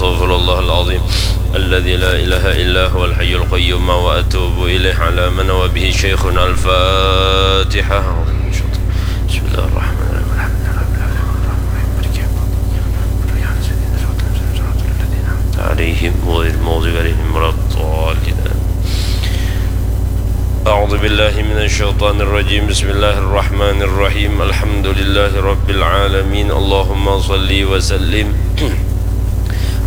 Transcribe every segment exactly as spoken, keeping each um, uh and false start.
أستغفر الله العظيم الذي لا إله إلا هو الحي القيوم وأتوب إليه على من هو به شيخنا. الفاتحة. بسم الله الرحمن الرحيم. الحمد لله رب العالمين. الرحمن الرحيم. مالك يوم الدين. إياك نعبد وإياك نستعين. اهدنا الصراط المستقيم. صراط الذين أنعمت عليهم غير المغضوب عليهم ولا الضالين. أعوذ بالله من الشيطان الرجيم. بسم الله الرحمن الرحيم. الحمد لله رب العالمين. اللهم صل وسلم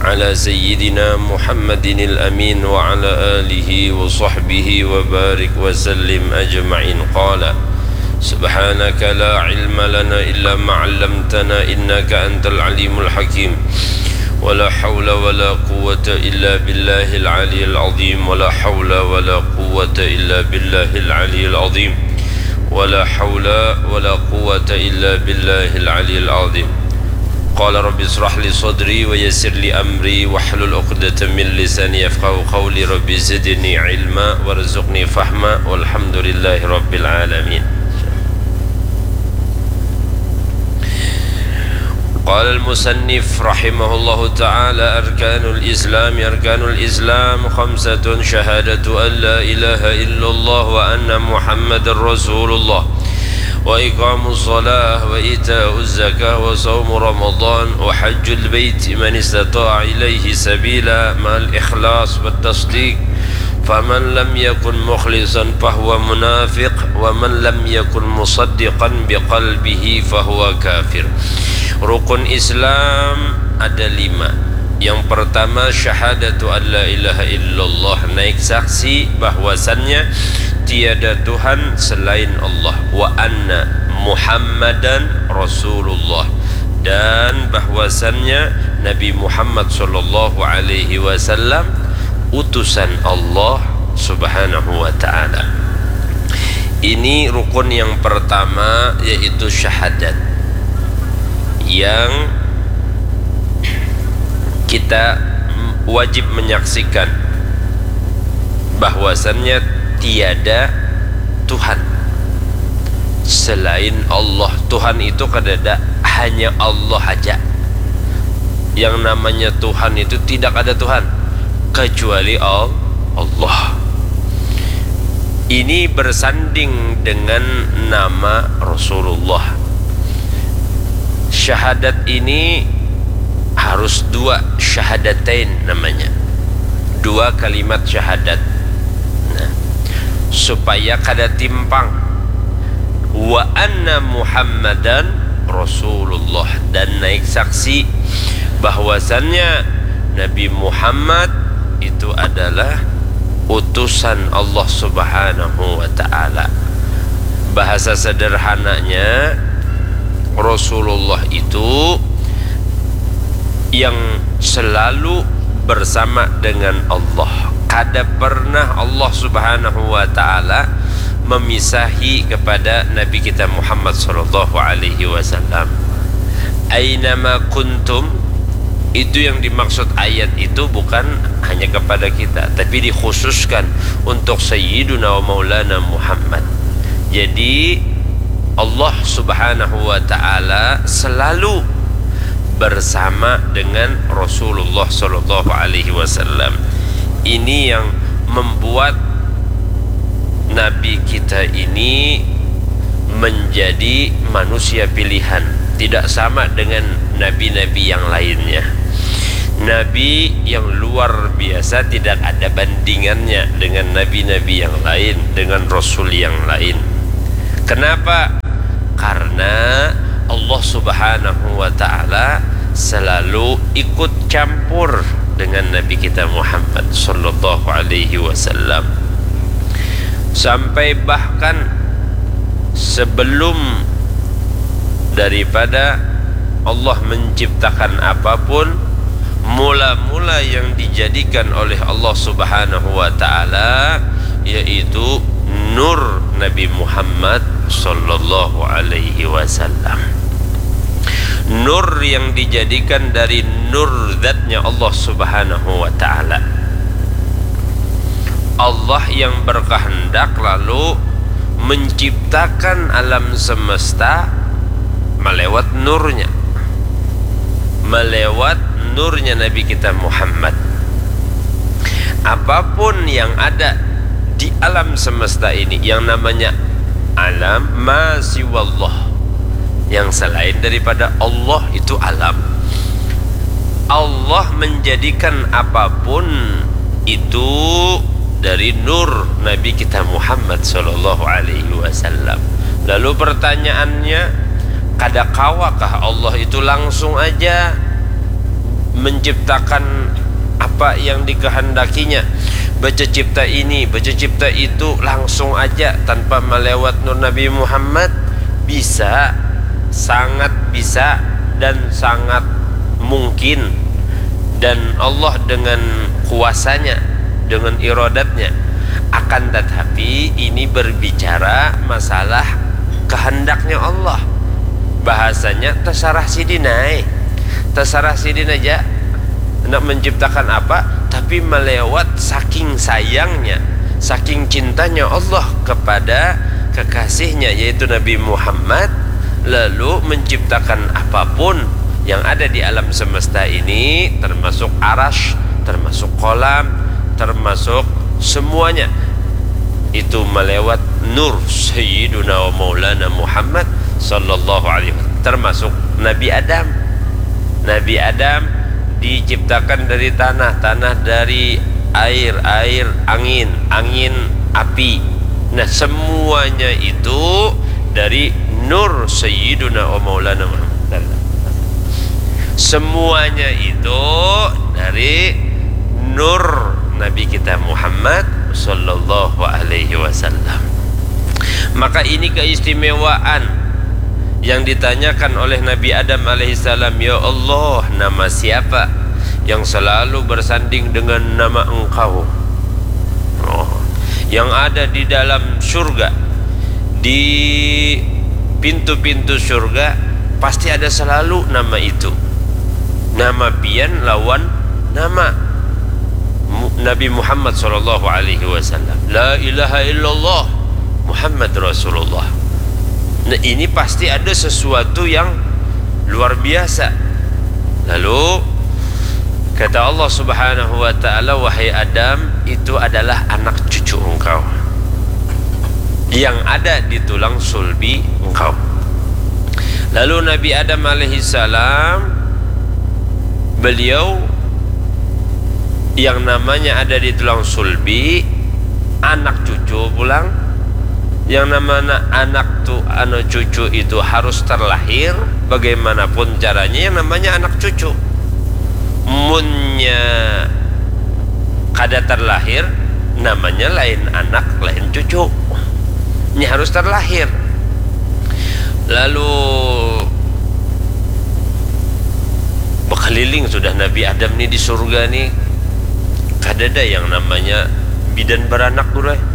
على سيدنا محمد الأمين وعلى آله وصحبه وبارك وسلم أجمعين. قال: سبحانك لا علم لنا إلا ما علمتنا إنك أنت العليم الحكيم. ولا حول ولا قوة إلا بالله العلي العظيم. ولا حول ولا قوة إلا بالله العلي العظيم. ولا حول ولا قوة إلا بالله العلي العظيم. قال: رب اشرح لي صدري ويسر لي أمري واحلل عقدة من لساني يفقهوا قولي. رب زدني علما وارزقني فهما. والحمد لله رب العالمين. قال المصنف رحمه الله تعالى: أركان الإسلام، أركان الإسلام خمسة: شهادة أن لا إله إلا الله وأن محمدا رسول الله، وإقام الصلاة، وإيتاء الزكاة، وصوم رمضان، وحج البيت من استطاع إليه سبيلا، مع الإخلاص والتصديق، فمن لم يكن مخلصا فهو منافق، ومن لم يكن مصدقا بقلبه فهو كافر. Rukun Islam ada lima. Yang pertama, syahadatu an la ilaha illallah, naik saksi bahwasannya tiada Tuhan selain Allah, wa anna Muhammadan Rasulullah, dan bahwasannya Nabi Muhammad sallallahu alaihi wasallam utusan Allah Subhanahu wa Ta'ala. Ini rukun yang pertama, yaitu syahadat, yang kita wajib menyaksikan bahwasannya tiada Tuhan selain Allah. Tuhan itu kadada, hanya Allah aja. Yang namanya Tuhan itu tidak ada Tuhan kecuali Al-, Allah. Ini bersanding dengan nama Rasulullah. Syahadat ini harus dua, syahadatain namanya. Dua kalimat syahadat. Nah, supaya kada timpang. Wa anna Muhammadan Rasulullah, dan naik saksi bahwasannya Nabi Muhammad itu adalah utusan Allah Subhanahu wa Ta'ala. Bahasa sederhananya, Rasulullah itu yang selalu bersama dengan Allah. Kada pernah Allah Subhanahu wa Ta'ala memisahi kepada Nabi kita Muhammad sallallahu alaihi wasallam. Ainama kuntum, itu yang dimaksud ayat itu bukan hanya kepada kita, tapi dikhususkan untuk Sayyiduna wa Maulana Muhammad. Jadi, Allah Subhanahu wa Ta'ala selalu bersama dengan Rasulullah sallallahu alaihi wasallam. Ini yang membuat Nabi kita ini menjadi manusia pilihan, tidak sama dengan nabi-nabi yang lainnya. Nabi yang luar biasa, tidak ada bandingannya dengan nabi-nabi yang lain, dengan rasul yang lain. Kenapa? Karena Allah Subhanahu wa Ta'ala selalu ikut campur dengan Nabi kita Muhammad sallallahu alaihi wasallam. Sampai bahkan sebelum daripada Allah menciptakan apapun, mula-mula yang dijadikan oleh Allah Subhanahu wa Ta'ala yaitu nur Nabi Muhammad sallallahu alaihi wasallam. Nur yang dijadikan dari nur zatnya Allah Subhanahu wa Ta'ala. Allah yang berkehendak lalu menciptakan alam semesta melewat nurnya, melewat nurnya Nabi kita Muhammad. Apapun yang ada di alam semesta ini, yang namanya alam, ma siwallah, yang selain daripada Allah itu alam. Allah menjadikan apapun itu dari nur Nabi kita Muhammad sallallahu alaihi wasallam. Lalu pertanyaannya, kada kawakah Allah itu langsung aja menciptakan apa yang dikehendakinya, bececipta ini, bececipta itu langsung aja tanpa melewat nur Nabi Muhammad? Bisa, sangat bisa, dan sangat mungkin. Dan Allah dengan kuasanya, dengan iradatnya. Akan tetapi ini berbicara masalah kehendaknya Allah. Bahasanya terserah sidin ai. Terserah sidin aja nak menciptakan apa, tapi melewat saking sayangnya, saking cintanya Allah kepada kekasihnya, yaitu Nabi Muhammad, lalu menciptakan apapun yang ada di alam semesta ini, termasuk arash, termasuk kolam, termasuk semuanya itu melewat nur Sayyiduna wa Maulana Muhammad sallallahu alaihi wasallam, termasuk Nabi Adam. Nabi Adam diciptakan dari tanah, tanah dari air, air angin, angin api. Nah, semuanya itu dari nur Sayyiduna wa Maulana Muhammad. Semuanya itu dari nur Nabi kita Muhammad sallallahu alaihi wasallam. Maka ini keistimewaan yang ditanyakan oleh Nabi Adam alaihissalam, "Ya Allah, nama siapa yang selalu bersanding dengan nama Engkau?" Oh, yang ada di dalam surga, di pintu-pintu surga, pasti ada selalu nama itu. Nama pian lawan nama Mu-, Nabi Muhammad sallallahu alaihi wasallam. La ilaha illallah Muhammad Rasulullah. Nah, ini pasti ada sesuatu yang luar biasa. Lalu kata Allah Subhanahu wa taala, "Wahai Adam, itu adalah anak cucu engkau yang ada di tulang sulbi engkau." Lalu Nabi Adam alaihissalam, beliau yang namanya ada di tulang sulbi, anak cucu pulang. Yang namanya anak tu, anu, cucu itu harus terlahir, bagaimanapun caranya yang namanya anak cucu. Munnya kada terlahir, namanya lain anak, lain cucu. Nya harus terlahir. Lalu bekeliling sudah Nabi Adam ni di surga ni, kadada yang namanya bidan beranak, guru ai.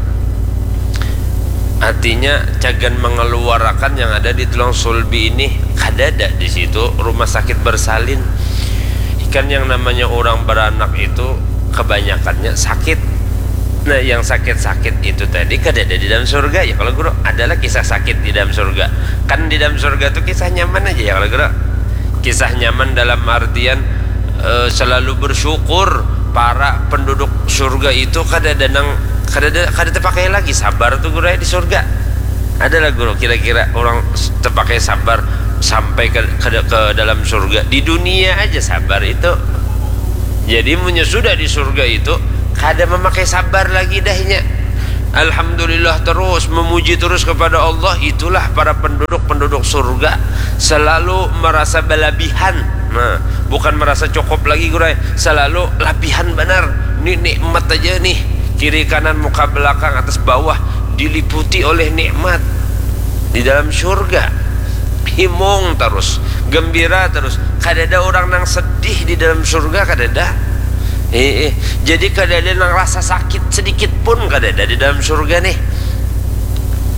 Artinya, cagan mengeluarakan yang ada di tulang sulbi ini, kadada di situ rumah sakit bersalin. Ikan yang namanya orang beranak itu kebanyakannya sakit. Nah, yang sakit-sakit itu tadi kadada di dalam surga, ya kalau guru? Adalah kisah sakit di dalam surga. Kan di dalam surga tuh kisah nyaman aja, ya kalau guru? Kisah nyaman dalam artian, eh, selalu bersyukur. Para penduduk surga itu kadada nang, kadada, kada terpakai lagi sabar tuh, guru ai, di surga. Adalah, guru, kira-kira orang s-, terpakai sabar sampai ke, ke, ke dalam surga? Di dunia aja sabar itu. Jadi, munnya sudah di surga itu, kada memakai sabar lagi dahnya. Alhamdulillah terus, memuji terus kepada Allah, itulah para penduduk-penduduk surga. Selalu merasa belabihan. Nah, bukan merasa cukup lagi, guru ai. Selalu labihan banar. Ni nikmat aja nih. Kiri kanan, muka belakang, atas bawah, diliputi oleh nikmat. Di dalam surga, himung terus, gembira terus. Kadada orang nang sedih di dalam surga, kadada. Eh, eh. Jadi kadada nang rasa sakit sedikit pun kadada di dalam surga nih.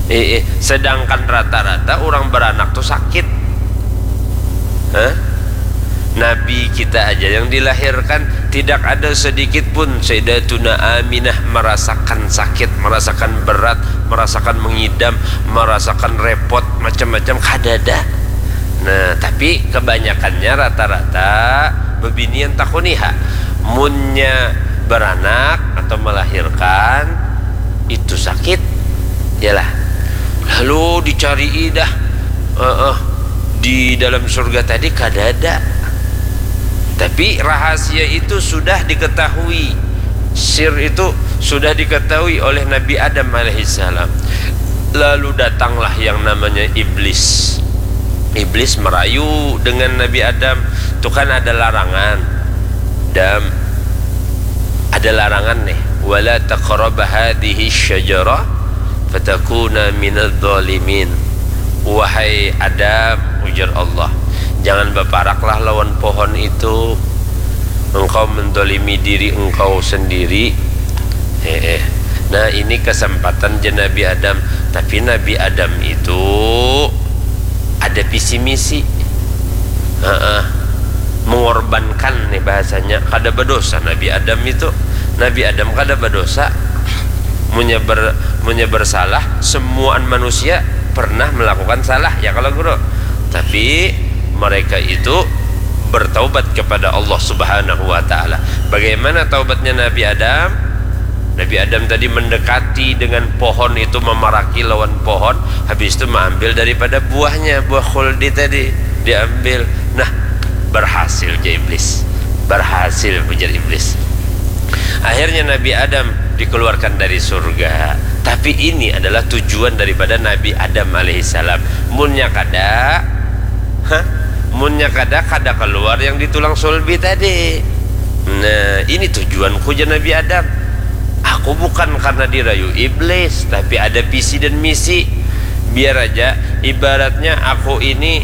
Eh, eh. Sedangkan rata-rata orang beranak tuh sakit. Hah? Nabi kita aja yang dilahirkan, tidak ada sedikit pun Sayyidatuna Aminah merasakan sakit, merasakan berat, merasakan mengidam, merasakan repot, macam-macam, kadada. Nah, tapi kebanyakannya rata-rata bebinian takuniha. Munnya beranak atau melahirkan, itu sakit. Yalah. Lalu dicari dah. Uh, uh, di dalam surga tadi kadada. Tapi rahasia itu sudah diketahui. Sir itu sudah diketahui oleh Nabi Adam alaihissalam. Lalu datanglah yang namanya iblis. Iblis merayu dengan Nabi Adam. Itu kan ada larangan. Dam, ada larangan nih. Wala taqraba hadhihi syajarah fatakuna minadh dhalimin. Wahai Adam, ujar Allah, jangan baparaklah lawan pohon itu. Engkau mendolimi diri engkau sendiri. Eh, eh. Nah, ini kesempatan je Nabi Adam. Tapi Nabi Adam itu ada visi misi. Heeh. Mengorbankan nih bahasanya. Kada berdosa Nabi Adam itu. Nabi Adam kada berdosa. Munnya ber, munnya bersalah, semuaan manusia pernah melakukan salah, ya kalau guru. Tapi mereka itu bertaubat kepada Allah Subhanahu wa Ta'ala. Bagaimana taubatnya Nabi Adam? Nabi Adam tadi mendekati dengan pohon itu, memaraki lawan pohon, habis itu mengambil daripada buahnya, buah khuldi tadi diambil. Nah, berhasil je iblis. Berhasil, ujar iblis. Akhirnya Nabi Adam dikeluarkan dari surga. Tapi ini adalah tujuan daripada Nabi Adam alaihissalam. Munnya kada, hah? Munnya kada, kada keluar yang di tulang sulbi tadi. Nah, ini tujuanku, jar Nabi Adam. Aku bukan karena dirayu iblis, tapi ada visi dan misi. Biar aja, ibaratnya aku ini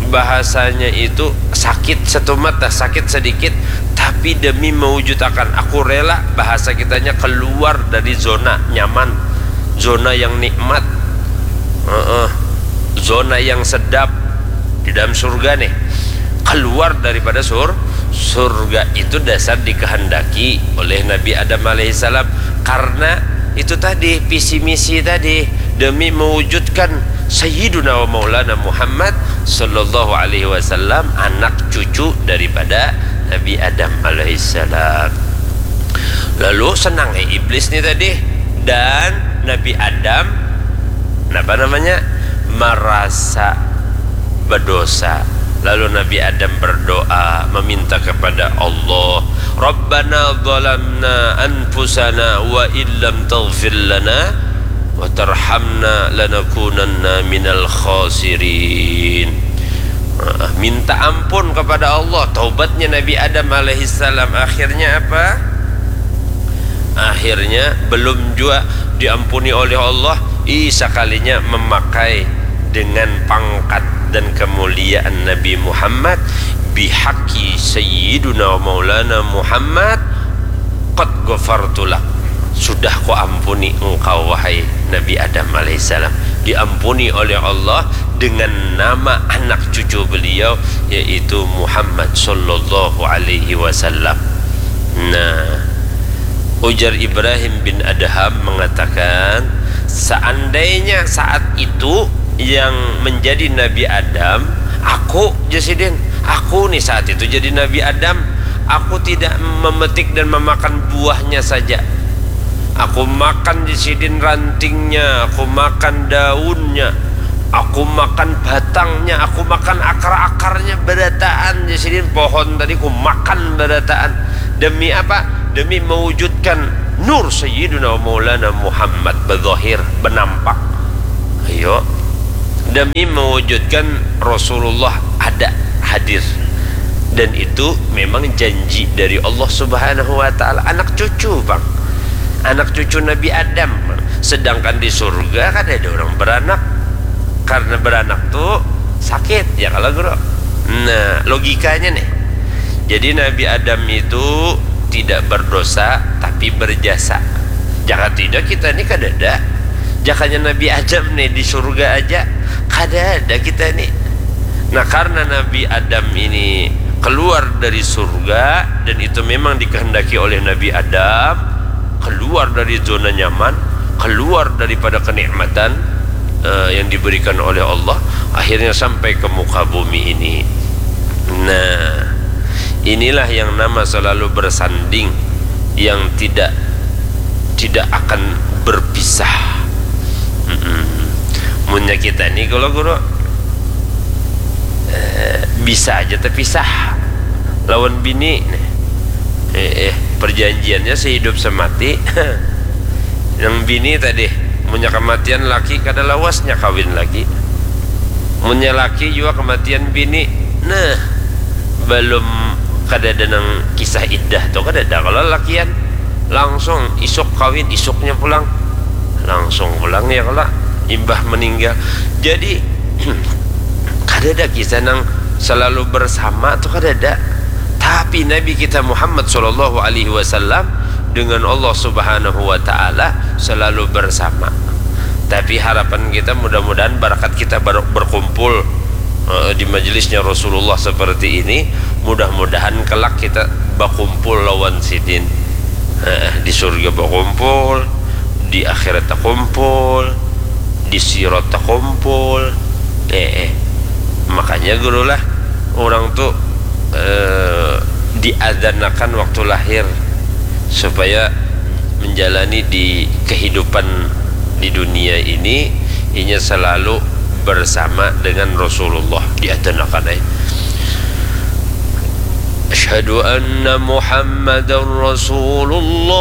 bahasanya itu sakit setumat dah, sakit sedikit, tapi demi mewujudakan, aku rela, bahasa kitanya, keluar dari zona nyaman, zona yang nikmat. Heeh. Zona yang sedap di dalam surga nih. Keluar daripada sur, surga itu dasar dikehendaki oleh Nabi Adam alaihissalam. Karena itu tadi, visi misi tadi, demi mewujudkan Sayyiduna wa Maulana Muhammad sallallahu alaihi wasallam, anak cucu daripada Nabi Adam alaihissalam. Lalu senang, eh, iblis nih tadi, dan Nabi Adam, apa namanya, merasa berdosa. Lalu Nabi Adam berdoa, meminta kepada Allah, "Rabbana zalamna anfusana wa illam taghfir lana wa tarhamna lanakunanna minal khasirin." Nah, minta ampun kepada Allah. Taubatnya Nabi Adam alaihissalam, akhirnya apa? Akhirnya belum jua diampuni oleh Allah, ih, sakalinya memakai dengan pangkat dan kemuliaan Nabi Muhammad, "Bihaqqi Sayyiduna wa Maulana Muhammad, qad ghafartu lak." Sudah ku ampuni engkau, wahai Nabi Adam alaihissalam. Diampuni oleh Allah dengan nama anak cucu beliau, yaitu Muhammad sallallahu alaihi wasallam. Nah, ujar Ibrahim bin Adham mengatakan, seandainya saat itu yang menjadi Nabi Adam, aku, jar sidin, aku nih saat itu jadi Nabi Adam, aku tidak memetik dan memakan buahnya saja. Aku makan, jar sidin, rantingnya, aku makan daunnya, aku makan batangnya, aku makan akar-akarnya, berataan, jar sidin, pohon tadi ku makan berataan. Demi apa? Demi mewujudkan nur Sayyiduna wa Maulana Muhammad bezahir, benampak. Ayo. Demi mewujudkan Rasulullah ada, hadir. Dan itu memang janji dari Allah Subhanahu wa Ta'ala. Anak cucu, Bang. Anak cucu Nabi Adam. Sedangkan di surga kan ada orang beranak. Karena beranak tuh sakit, ya kalau, Guru. Nah, logikanya nih. Jadi Nabi Adam itu tidak berdosa, tapi berjasa. Jaka tidak, kita ini kadada. Jakanya Nabi Adam nih di surga aja, kadada kita ini. Nah, karena Nabi Adam ini keluar dari surga, dan itu memang dikehendaki oleh Nabi Adam, keluar dari zona nyaman, keluar daripada kenikmatan, eh, yang diberikan oleh Allah, akhirnya sampai ke muka bumi ini. Nah, Inilah yang nama selalu bersanding, yang tidak tidak akan berpisah. Mm-mm. Munnya kita ni kalau guru, eh, bisa aja terpisah lawan bini. Eh, eh, perjanjiannya sehidup semati. Yang bini tadi, munnya kematian laki, kada lawasnya kawin lagi. Munnya laki jua kematian bini, nah, belum, kada ada nang kisah iddah tu, kada ada. Kalau lakian langsung isuk kawin, isuknya pulang, langsung pulang ya kalau imbah meninggal. Jadi kada ada kisah nang selalu bersama tu, kada ada. Tapi Nabi kita Muhammad sallallahu alaihi wasallam dengan Allah Subhanahu wa taala selalu bersama. Tapi harapan kita, mudah-mudahan barakat kita ber-, berkumpul, eh, di majelisnya Rasulullah seperti ini, mudah-mudahan kelak kita bakumpul lawan sidin. Eh, di surga bakumpul, di akhirat takumpul, di sirat takumpul. Eh, eh. Makanya guru lah, orang tu, eh, diadzanakan waktu lahir supaya menjalani di kehidupan di dunia ini, inya selalu bersama dengan Rasulullah, diadzanakan, eh. Asyhadu anna Muhammadar Rasulullah.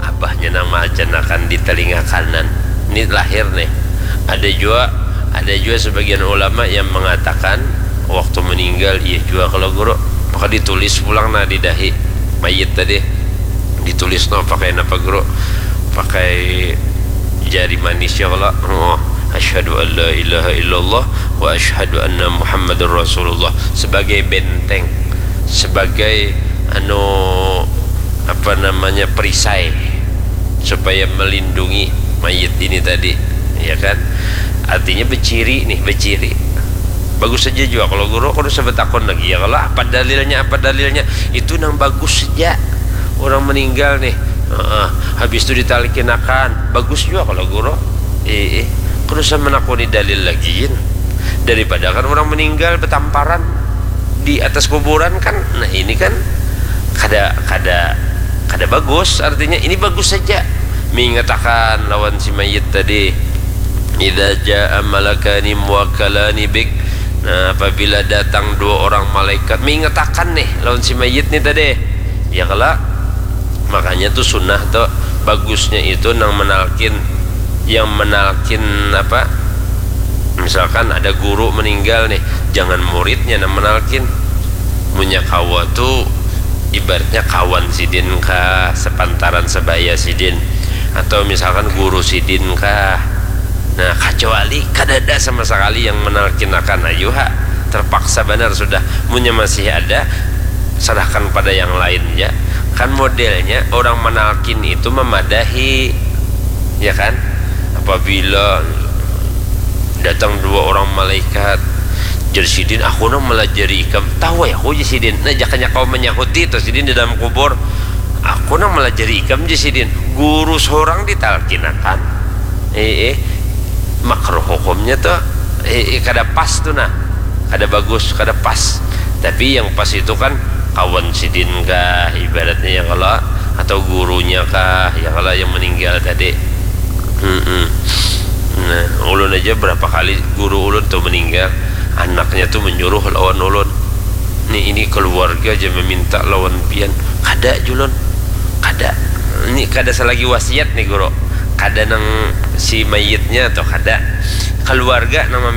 Abahnya nang maadzanakan di telinga kanan. Ini lahir nih. Ada jua, ada jua sebagian ulama yang mengatakan waktu meninggal, iya jua kalau guru. Maka ditulis pulang nah di dahi mayit tadi. Ditulis no pakai napa guru? Pakai jari manis ya kalau. Oh, asyhadu an la ilaha illallah wa asyhadu anna Muhammadar Rasulullah sebagai benteng, sebagai anu, apa namanya, perisai supaya melindungi mayit ini tadi, ya kan? Artinya beciri nih, beciri. Bagus saja juga kalau guru, aku udah sempat takon lagi ya, kalau apa dalilnya, apa dalilnya? Itu nang bagus saja. Orang meninggal nih, heeh, habis itu ditalkinakan, bagus juga kalau guru. Eh, eh. Aku udah menakoni dalil lagi, daripada kan orang meninggal betamparan di atas kuburan kan. Nah, ini kan kada, kada, kada bagus. Artinya ini bagus saja. Mengatakan lawan si mayit tadi, idza jaa malakani muwakkalani bik. Nah, apabila datang dua orang malaikat mengatakan nih lawan si mayit nih tadi, ya kalau makanya tuh sunnah tuh bagusnya itu nang menalkin, yang menalkin apa, misalkan ada guru meninggal nih, jangan muridnya nang menalkin. Munnya kawa tu ibaratnya kawan sidin kah, sepantaran sebaya sidin, atau misalkan guru sidin kah. Nah, kecuali kada ada sama sekali yang menalkinakan, ayu ha, terpaksa benar sudah. Munnya masih ada, serahkan pada yang lain ya. Kan modelnya orang menalkin itu memadahi, ya kan? Apabila datang dua orang malaikat, jadi sidin, aku nang melajari ikam, tahu ya aku jadi sidin. Nah, jakanya kau menyahuti itu sidin di dalam kubur, aku nang melajari ikam jadi sidin. Guru seorang ditalkinakan, eh, eh, makruh hukumnya tuh, eh, eh, kada pas tuh nah, kada bagus, kada pas. Tapi yang pas itu kan kawan sidin kah ibaratnya ya kalau, atau gurunya kah ya kalau yang meninggal tadi. Mm-mm. Nah, ulun aja berapa kali guru ulun tuh meninggal, anaknya tuh menyuruh lawan ulun, nih ini keluarga aja meminta lawan pian, kada julun, kada, ini kada selagi wasiat nih guru, kada nang si mayitnya atau kada, keluarga nang meminta